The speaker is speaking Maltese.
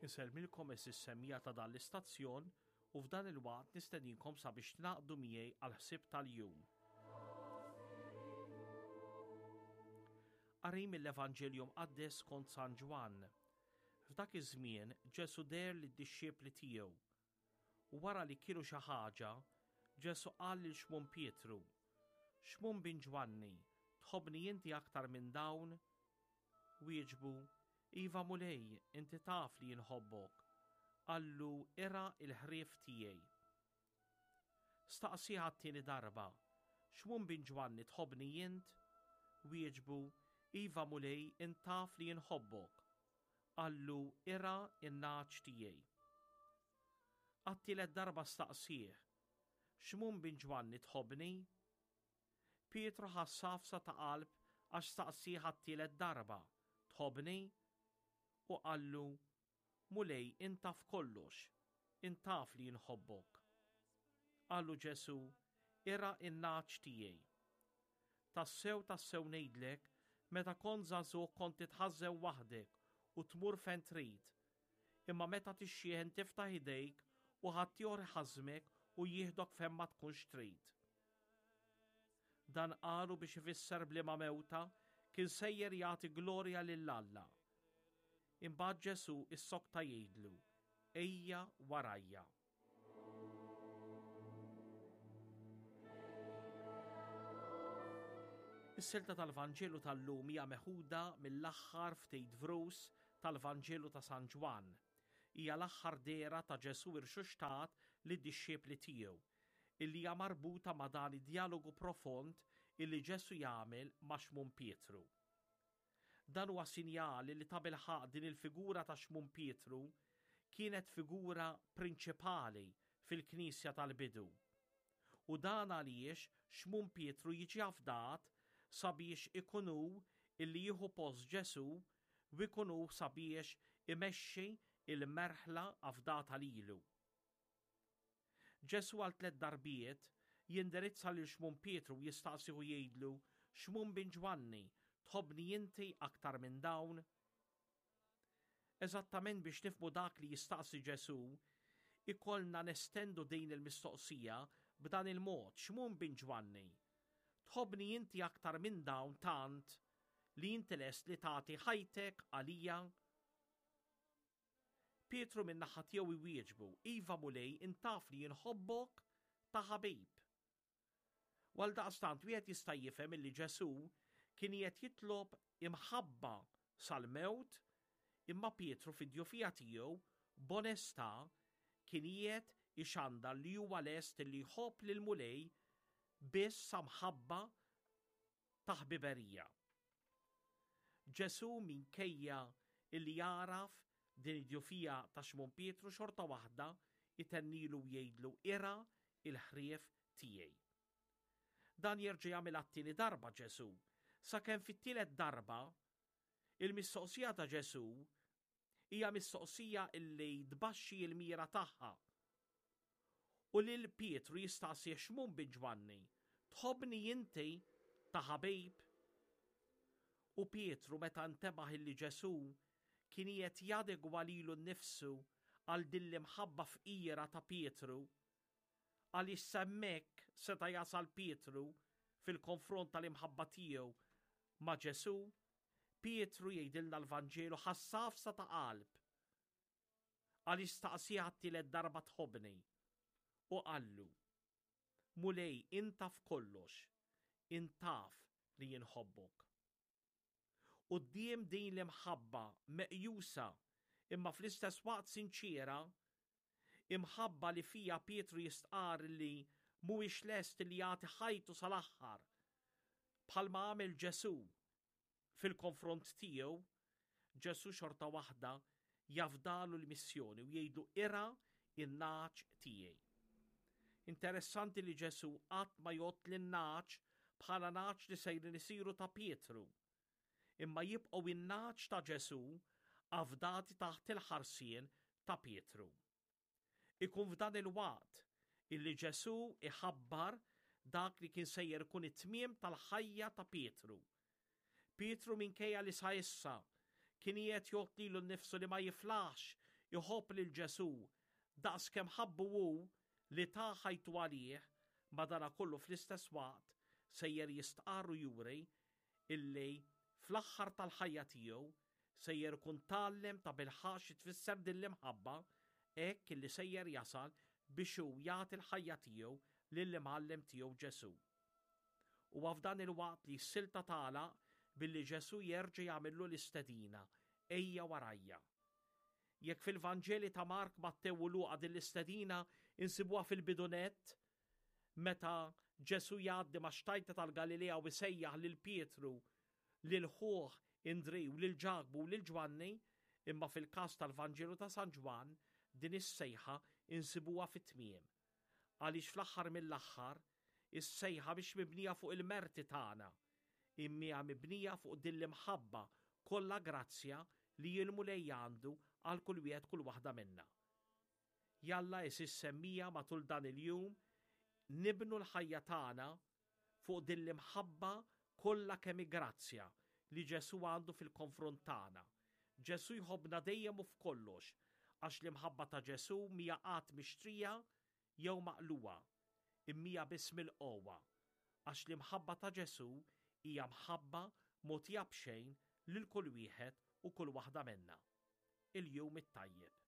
Insellmilkom għeżież semmiegħa ta' dan l-istazzjon u f'dan il-waqt nistedinkom sabiex tingħaqdu miegħi għall-ħsieb tal-jum. Qari mill-Evanġelju Mqaddes skont San Ġwann. F'dak iż-żmien Ġesù deher lid-dixxipli tiegħu. U wara li kielu xi ħaġa, Ġesù qal lil Xmun Pietru, Xmun bin Ġwanni, tħobbni inti aktar minn dawn? Wieġbu, Iva Mulej, inti taf li inħobbok. Qallu, Irgħa l-ħrief tiegħi. Staqsieh għat-tieni darba, Xmun bin Ġwanni tħobbni int? Wieġbu, Iva Mulej, int taf li inħobbok. Qallu, Irgħa n-nagħaġ tiegħi. Għat-tielet darba staqsieh, Xmun bin Ġwanni tħobbni? Pietru ħass għafsa ta' qalb għax staqsieh għat-tielet darba, Tħobbni? U qallu, Mulej, int taf kollox, int taf li inħobbok. Qallu Ġesù, Irgħa n-nagħaġ tiegħi. Tassew, tassew ngħidlek, meta kont żagħżugħ kont titħażżen waħdek u tmur fejn trid, Imma meta tixjieħ int tiftaħ idejk u ħaddieħor iħażżmek u jieħdok fejn ma tkunx trid. Dan qalu biex ifisser b'liema mewta kien sejjer jagħti glorja lil Alla. Imbagħad Ġesù issokta jgħidlu, Ejja warajja. Is-silta tal-Vanġelu tal-lum hija meħuda mill-aħħar ftit vrus tal-Vanġelu ta' San Ġwann. Hija l-aħħar dehra ta' Ġesù irxuxtat lid-dixxipli tiegħu, illi hija marbuta ma' dan id-djalogu profond illi Ġesù jagħmel ma' Xmun Pietru. Dan huwa sinjal li tabilħaqq din il-figura ta' Xmun Pietru kienet figura prinċipali fil-Knisja tal-bidu. U dan għaliex Xmun Pietru jiġi afdat sabiex ikun hu illi jieħu post Ġesù u jkun hu sabiex imexxi il-merħla afdata lilu. Ġesù għal tlett darbiet jindirizza lil Xmun Pietru u jistaqsih u jgħidlu, Xmun bin Ġwanni, tħobbni inti aktar minn dawn? Eżattament biex nifhmu dak li jistaqsi Ġesù, ikollna nestendu din il-mistoqsija b'dan il-mod, Xmun bin Ġwanni, tħobbni inti aktar minn dawn tant li inti lest li tagħti ħajtek għalija? Pietru min-naħa tiegħu jwieġbu, Iva Mulej, int taf li inħobbok ta' ħabib. U għaldaqstant wieħed jista' jifhem illi Ġesù kien qiegħed jitlob imħabba sal-mewt imma Pietru fid-djufija tiegħu b'onestà kien qiegħed ixandar li huwa lest illi jħobb lill-Mulej biss sa mħabba ta' ħbiberija. Ġesù minkejja illi jagħraf din id-djufija ta' Xmun Pietru xorta waħda jtennilu u jgħidlu irgħa il-ħrief tiegħi. Dan jerġa' jagħmilha t-tieni darba Ġesù, sakemm fit-tielet darba il-mistoqsija ta' Ġesù hija mistoqsija illi tbaxxi l-mira tagħha. U lil Pietru jistaqsih Xmun bin Ġwanni, tħobbni inti ta' ħabib? U Pietru meta ntebaħ illi Ġesù kien qiegħed jadegwa lilu nnifsu għal din l-imħabba fqira ta' Pietru, għaliex s'hemmhekk seta' jasal Pietru fil-konfront tal-imħabba tiegħu ma' Ġesù, Pietru jgħidilna l-Vanġelu ħass għafsa ta' qalb għaliex staqsieh għat-tielet darba tħobbni u qallu, Mulej int taf kollox, int taf li jien nħobbok. Quddiem din l-imħabba meqjusa imma fl-istess waqt sinċiera, imħabba li fiha Pietru jistqarr li mhuwiex lest li jagħti ħajtu sal-aħħar bħalma għamel Ġesù fil-konfront tiegħu, Ġesù xorta waħda jafdalu l-missjoni u jgħidlu irgħa in-nagħaġ tiegħi. Interessanti li Ġesù qatt ma jgħodd lin-nagħaġ bħala nagħaġ li sejrin isiru ta' Pietru, imma jibqgħu in-nagħaġ ta' Ġesù afdati taħt il-ħarsien ta' Pietru. Ikun f'dan il-waqt illi Ġesù iħabbar dak li kien sejjer ikun it-tmiem tal-ħajja ta' Pietru. Pietru minkejja li sa issa kien qiegħed jgħodd lilu nnifsu li ma jiflaħx. iħobb lil Ġesù daqs kemm ħabbu hu li ta ħajtu għalih, madanakollu fl-istess waqt sejjer jistqarr u juri illi fl-aħħar tal-ħajja tiegħu sejjer ikun tgħallem tabilħaqq xi tfisser din l-imħabba hekk illi sejjer jasal biex hu jagħti l-ħajja tiegħu lill-Imgħallem tiegħu Ġesù. Huwa f'dan il-waqt li s-silta tagħlaq billi Ġesù jerġa' jagħmillu l-istedina, Ejja warajja. Jekk fil-Vanġeli ta' Mark, Mattew u Luqa din l-istedina insibuha fil-bidu nett, meta Ġesù jgħaddi max-xtajta tal-Galilea u jsejjaħ lil Pietru, lil ħuh Indrì u lil Ġakbu u lil Ġwanni, imma fil-każ tal-Vanġelu ta' San Ġwann din is-sejħa insibuha fit-tmiem. Għaliex fl-aħħar mill-aħħar, is-sejħa mhix mibnija fuq il-merti tagħna, imma hija mibnija fuq din l-imħabba kollha grazzja li l-Mulej għandu għal kull wieħed kull waħda minna. Jalla għeżież semmija matul dan il-jum nibnu l-ħajja tagħna fuq din l-imħabba kollha kemm hi grazzja li Ġesù għandu fil-konfront tagħna. Ġesù jħobbna dejjem u f'kollox, għax l-imħabba ta' Ġesù mhija qatt mixtrija jew maqlugħa, imma hija biss milqugħa, għax l-imħabba ta' Ġesù hija mħabba mogħtija b'xejn lil kull wieħed u kull waħda minna. Il-jum it-tajjeb.